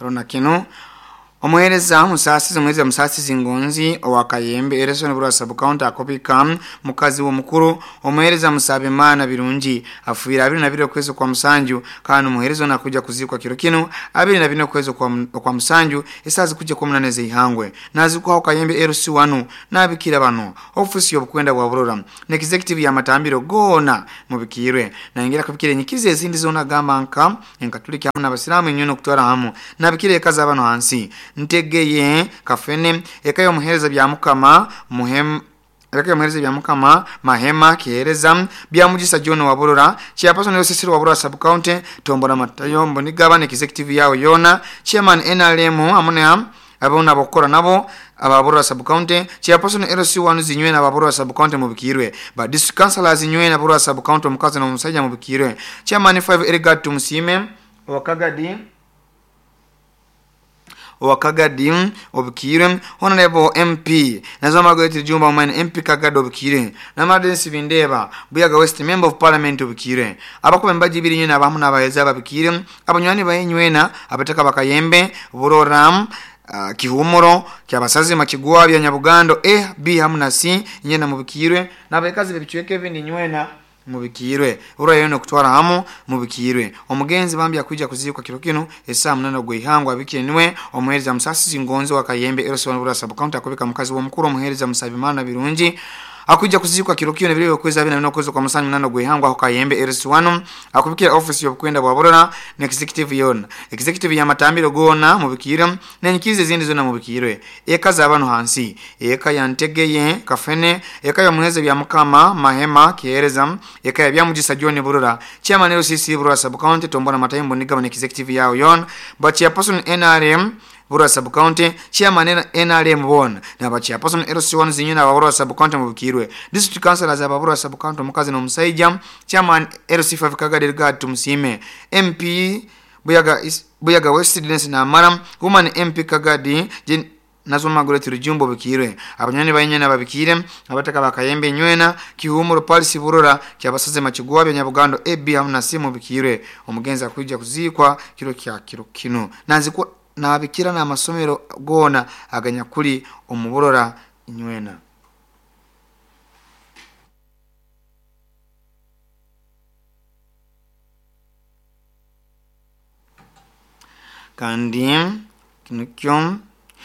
Rona kinu omuheereza Musaasizi, omuheereza Musaasizi Ngonzi owa Kayembe Erison Burwa Sub-County akubika mukazi w'omukuru omuheereza Musabimana Birungi afiire 22 okwezi kwa musanju, kandi omuheereza ono akuja kuziikwa kiro kinu 24 okwezi okwa musanju esaaha zikujja kuba munana ez'eihangwe. Naazikwaho Kayembe LC1 n'abikira bano ofiisi y'obukwenda bwa Burora na executive y'amatambiro goona mubikiirwe. Nayongera kubikira enyikiriza ezindi zoona agamba nka Enkatuliki hamu n'Abasiraamu enywena okutwara hamu. Nabikira eka z'abano hansi Ntegeye Kafene, eka y'omuheereza Byamukama Muhem, eka y'omuheereza Byamukama Mahema Kiheereza, Byamugisa John wa Burora, Chairperson LCC wa Burora Sub-County, Tombora Matayo Mbonigaba na executive yawe yoona, Chairman NRM hamu na abona abokukora nabo aba Burora Sub-County, Chairperson LC1 zinywena aba Burora Sub-County mubikirwe, ba District Councillors nywena Burora Sub-County omukazi n'omusaija mubikirwe, Chairman 5 Elgard Tumusiime owa Kagadi owa Kagadi obikirwe, Honorable MP Nazwa Margaret Jumba Omwene MP Kagadi obikirwe, Namadinsi Bindeba Buyaga West Member of Parliament obikirwe, abakuba embaji ibiri nywena abamu n'abaheereza babikirwe, abanywani baye nywena abataka bakayembe Burora Kihumuro Kyabasazima Kigwa bya Nyabugando A, B hamu na C nywena mubikirwe, n'abakazi b'ebicweka ebindi nywena mubikirwe, Burora yoona okutwara hamu mubikirwe. Omugenzi bambi akwija kuziikwa kiro kinu esaaha 8 ogw'eihangwe abikire niwe omuheereza Musaasizi Ngonzi wa Kayembe LC1 Burora Sub-County akubika mukazi w'omukuru omuheereza Musabimana Birungi akwija kuziikwa kiro kinu ebiro by'okwezi 24 okwezi kwa musanju 8 ogw'eihangwe aho Kayembe LC1 akubikira ofiisi y'obukwenda bwa Burora na executive yoona, executive y'amatambiro goona mubikirwe n'enyikiriza ezindi zoona mubikirwe. Eka z'abano hansi eka ya Ntegeye Kafene, eka y'omuheereza Byamukama Mahema Kiheereza, eka ya Byamugisa John Burora, Chairman LCC Burora Sub-County Tombora Matayo Mbonigaba na executive yawe yoona, ba Chairperson NRM Burora Sub-County, Chairman NRM boona n'aba Chairperson LC1 zinywena aba Burora Sub-County mubikirwe, District Councillors aba Burora Sub-County omukazi n'omusaija, Chairman LC5 Kagadi Elgard Tumusiime, MP Buyaga, Buyaga West Dennis Namara, Woman MP Kagadi Jane Nazwa Margaret Rujumbo obikirwe, abanywani baye babikire, abataka bakayembe nywena Kihumuro Paris Burora Kyabasaze Makigwa bya Nyabugando AB hamu na C mubikirwe. Omugenzi akwija kuziikwa kiro kya kiro kinu nazikwa nabikira n'amasomero goona aganyakuli omu Burora nywena. Kandi nikyo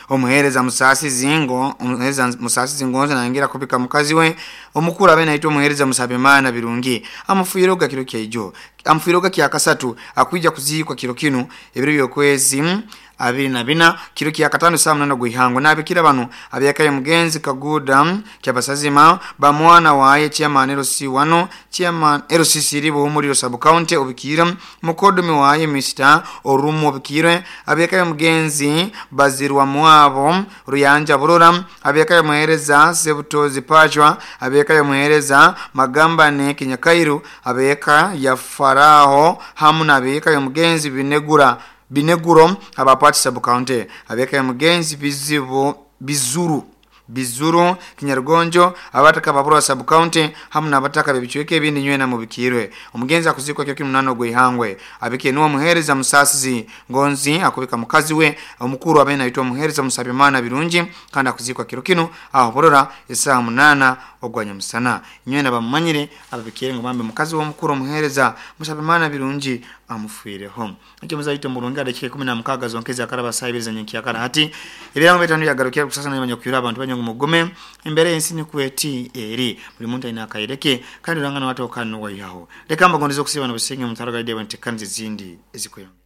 omuheereza Musaasizi ngo omuheereza Musaasizi Ngonzi nayongera kubika mukazi we omukuru abe naitwa omuheereza Musabimana Birungi amufiiroga kiro kyaijo amufiiroga kya kasatu akwija kuziikwa kiro kinu ebiro by'okwezi 24 kiro kya katano saa 8 gw'ihangwe. Nabikira bano abyakaye mugenzi Kaguda Kyabasazima bamwana waye Chairman LC1 Chairman LCC Buhumuriro Sub-County obikire, mukodomi waye Mr Orumu obikire, abyakaye mugenzi Bazirwa Mwabo Ruyanja Burora, abyakaye muhereza Sebutozi Pachwa, abyakaye muhereza Magambane Kinyakairu, abeka ya Faraho hamu n'abeka ya mugenzi Binegura Bineguro abapati Sub-County, abeka mugenzi Bizibu Bizuru Bizuru Kinyarugonjo abataka Baburora Sub-County hamu n'abataka b'ebicweka ebindi nywena mubikirwe. Omugenzi akuzikwa kiro kinu 8 ogw'eihangwe abike niwe omuheereza Musaasizi Ngonzi akubika mukazi we omukuru abe naitwa omuheereza Musabimana Birungi kandi akuzikwa kiro kinu aho Burora esaaha 8 ogwanyamusana. Nywena bamumanyire ababikire ngu bambe mukazi w'omukuru omuheereza Musabimana Birungi amufiireho. Ekyo muzaito murungi adakika 16 zonkezi akaraba saa ibiri zanyenkyakara hati ebirango bitano byagarukira kusasa n'abanya kuyura abantu banyangu mugume embere y'ensi nikweti eri buli muntu alina akaireke kandi urangana watu okano waihaho. Reka mbagondeze okusiba n'obusinge mutaro gaide bantekanze zindi ezikweyongera.